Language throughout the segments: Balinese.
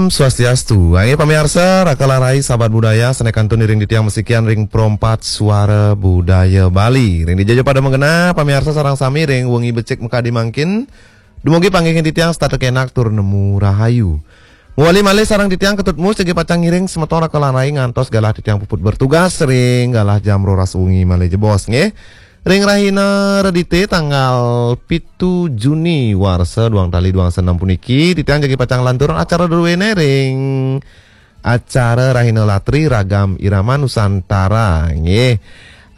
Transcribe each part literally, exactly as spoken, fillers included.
Swastiastu. Inggih pamiarsa, raka lan rai sahabat budaya, sané kantun iring titiang masikian ring Pro empat Suara Budaya Bali. Ring dija ja pada magenah, pamiarsa sareng sami ring wengi becik makadi mangkin. Dumugi panggihin titiang setata kénak tur nemu rahayu. Mawali malih sareng titiang Ketut Mus jagi pacang ngiring semeton raka lan rai ngantos galah titiang puput bertugas ring galah jam roras wengi malih jebos nggih. Ring rahina Redité tanggal pitu Juni warsa duang tali duang dasa enem puniki, titiang jagi pacang lanturang acara druéné ring acara Rahina Latri Ragam Irama Nusantara nggih.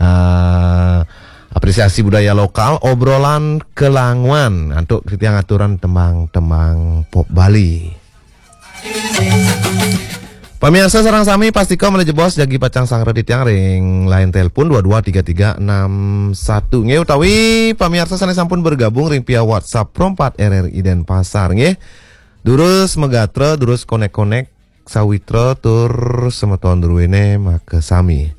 Eh, apresiasi budaya lokal, obrolan kelanguan antuk titiang aturan tembang-tembang pop Bali. Pamiarsa sareng sami, pastika malih jebos jagi pacang sanggra titiang ring line telepon dua dua tiga tiga enam satu nggih, utawi pamiarsa sané sampun bergabung ring via WhatsApp Pro empat R R I Denpasar nggih. Durus magatra, durus konek-konek sawitra tur semeton druéné makasami.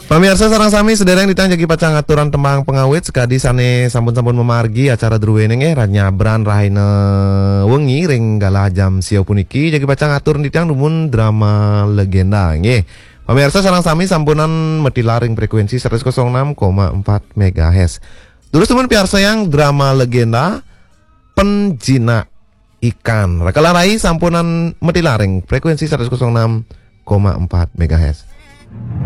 Pamiarsa sareng sami, sadéréng titiang jagi pacang ngaturang tembang pangawit sakadi sané sampun-sampun mamargi acara druéné nggih, nyabran rahina wengi ring galah jam sia puniki jagi pacang atur titiang dumun drama legenda nggih. Pamiarsa sareng sami, sampunang matilar ring frekuensi seratus kosong enam koma empat megahertz. Durus dumun piarsayang drama legenda Penjinak Ikan. Raka lan rai sampunang matilar ring frekuensi seratus kosong enam koma empat megahertz.